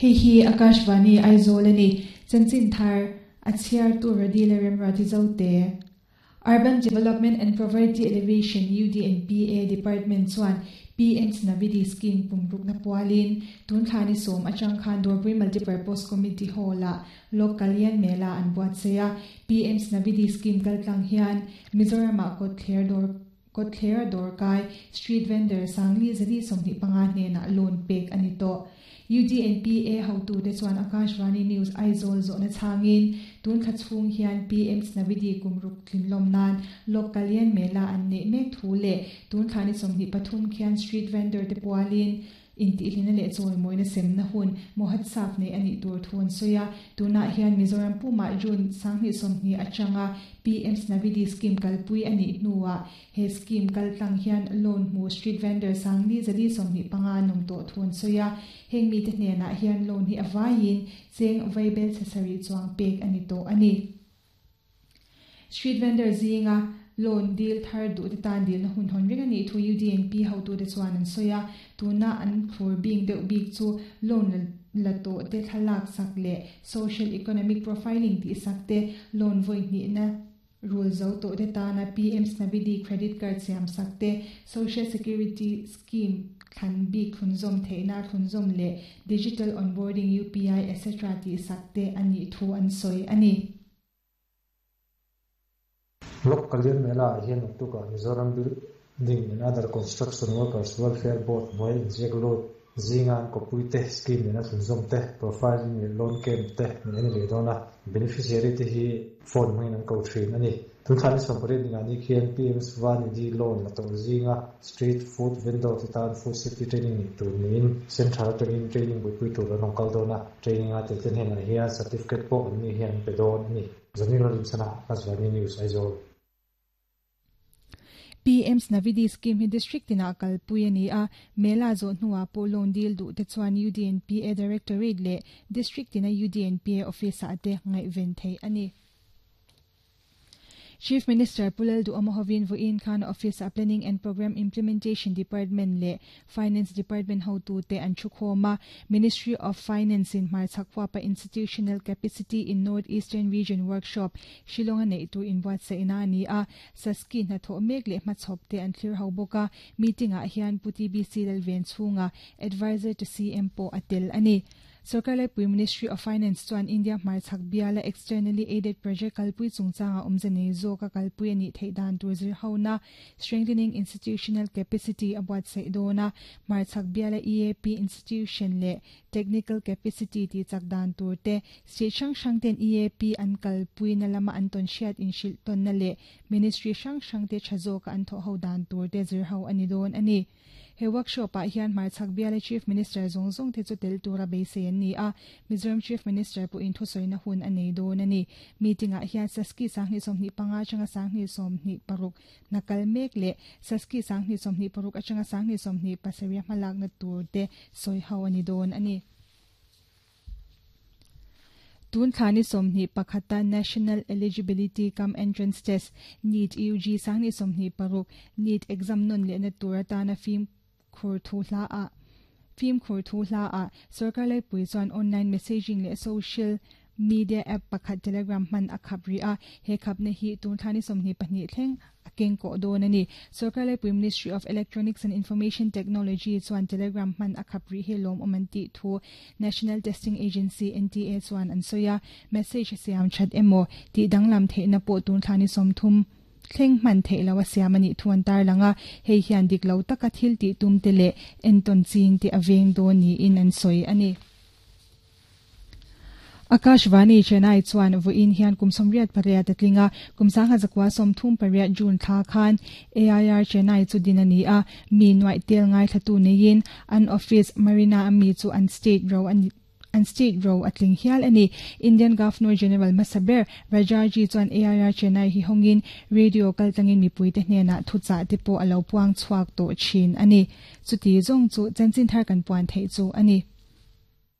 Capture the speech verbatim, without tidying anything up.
Hei hi Akashvani Aizawl a ni. Chanchin thar a chhiartu Radila Remruati Zote. Urban Development and Poverty Alleviation U D and P A Department chuan P M Svanidhi Scheme kumrukna pualin tun thlani sawm atang khan Dawrpui Multipurpose Committee Hall-ah Lok Kalyan Mela an buatsaih a. P M Svanidhi Scheme kaltlang hian Mizoramah kawtthler dawr kawtthler dawrkai street vendor sangli zali sawmhnih panga hnenah loan pek a ni tawh. U D and P A hotute chuan Akashvani News Aizawl zawhna chhangin tun thla chhung hian P M Svanidhi kumruk tlinlawm nan Lok Kalyan Mela an neih mek thu leh tun thlani sawmhnih pathum khian street vendor te pualin intihlina leh chawimawina semna hun Mohatsaf nei a nih tur thu an sawi a. Tunah hian Mizoram pumah June sanghnih sawmhnih atanga P M Svanidhi Scheme kalpui a nih hnuah he scheme kaltlang hian loan hmu street vendor sangli zali sawmhnih panga an awm tawh thu an sawi a. Heng mite hnenah hian loan hi a vaiin cheng vaibel chhasarih chuang pek a ni tawh a ni. Street vendor zinga loan dil thar duh te tan dilna hun hawn reng a nih thu U D and P hotute chuan an sawi a. Tuna an thlur bing deuh bik chu loan la tawh te thlalak sak leh social economic profiling tih sak te, loan vawi hnihna rul zo tawh te tana P M Svanidhi credit card siam sak te, social security scheme thlan bik thlunzawm theihna thlunzawm leh digital onboarding, U P I et cetera tih sak te a nih thu an sawi a ni. Lok Kalyan Mela ah hian naktukah Mizoram Building and Other Construction Workers Welfare Board hnuai inziak lut zinga an kawppui te scheme nena thlunzawm te profiling leh loan camp te neih a ni leh dawn a. Beneficiary te hi phone hmangin an ko thin a ni. Tun thlani sawmpariat ningah ni khian P M Svanidhi loan la tawh zinga street food vendor te tan food safety training neih tur niin central atangin training buaipui tur an awm kal dawn a. Training a tel te hnenah hian certificate pawh an ni hian an pe dawn a ni. Zanil Rinchana, Akashvani News, Aizawl. P M Svanidhi Scheme hi district tina kalpui a ni a. Mela zawh hnuah pawh loan dil duh te chuan U D and P A Directorate leh district tina U D and P A office ah te ngaihven theih a ni. Chief Minister Pu Lalduhoma hovin vawiin khan Office a Planning and Program Implementation Department leh Finance Department hotute an thu khawm a. Ministry of Finance in hmarchhak huapa Institutional Capacity in North Eastern Region Workshop Shillong a neih tur inbuatsaihna a ni a. Saski hnathawh mek leh hmachhawp te an thlir ho bawk a. Meeting ah hian Pu T B C Lalvenchhunga, Advisor to C M pawh a tel a ni. Sarkar laipui Ministry of Finance chuan India hmarchhak biala externally aided project kalpui chungchanga awmze nei zawka kalpui a nih theih dan tur zir hona Strengthening Institutional Capacity a buatsaih dawn a. Hmarchhak biala E A P institution leh technical capacity ti chak dan tur te, state hrang hrang ten E A P an kalpui na lama an tawn hriat inhrilh tawnna leh ministry hrang hrang te tha zawka an thawh ho dan tur te zir ho a ni dawn a ni. He workshop ah hian hmarchhak biala Chief Minister zawng zawng te chu tel tura beisei an ni a. Mizoram Chief Minister pawh in thusawi hun a nei dawn a ni. Meeting ah hian Saski sanghnih sawmhnih panga atanga sanghnih sawmhnih paruk nakal mek leh Saski sanghnih sawmhnih paruk atanga sanghnih sawmhnih pasarih hmalakna tur te sawi ho a ni dawn a ni. Tun thlani sawmhnih pakhata National Eligibility cum Entrance Test NEET U G sanghnih sawmhnih paruk NEET exam non lehna tur atana fim khur thu hla a fim khur thu hla a sarkar laipui chuan online messaging leh social media app pakhat Telegram hman a khap ri a. He khapna hi tun thlani sawmhnih pahnih thleng a keng kawh dawn a ni. Sarkar laipui Ministry of Electronics and Information Technology chuan Telegram hman a khap ri hi lawm awm an tih thu National Testing Agency N T A chuan an sawi a. Message siam that emaw tih danglam theihna pawh tun thlani sawmthum thleng hman theih lo a siam ani thu an tar langa. Hei hian dik lo taka thil tih tum te leh enton ching te a veng dawn niin an sawi a ni. Akashvani Chennai chuan vawiin hian kum sawmriat pariat a tling a. Kum sangha zakua sawmthum pariat June thla khan A I R Chennai chu din a ni a. Mi nuaih tel ngai thlatu neiin an office Marina ami chu an state ro ani an state ro a tling hial ani. Indian Governor General Masaber Rajaji chuan A I R Chennai hi hongin radio kaltlangin mipui te hnena thucha te pawh alo puang chhuak tawh thin ani. Chuti zawng chu chanchin thar kan puan theih chu ani.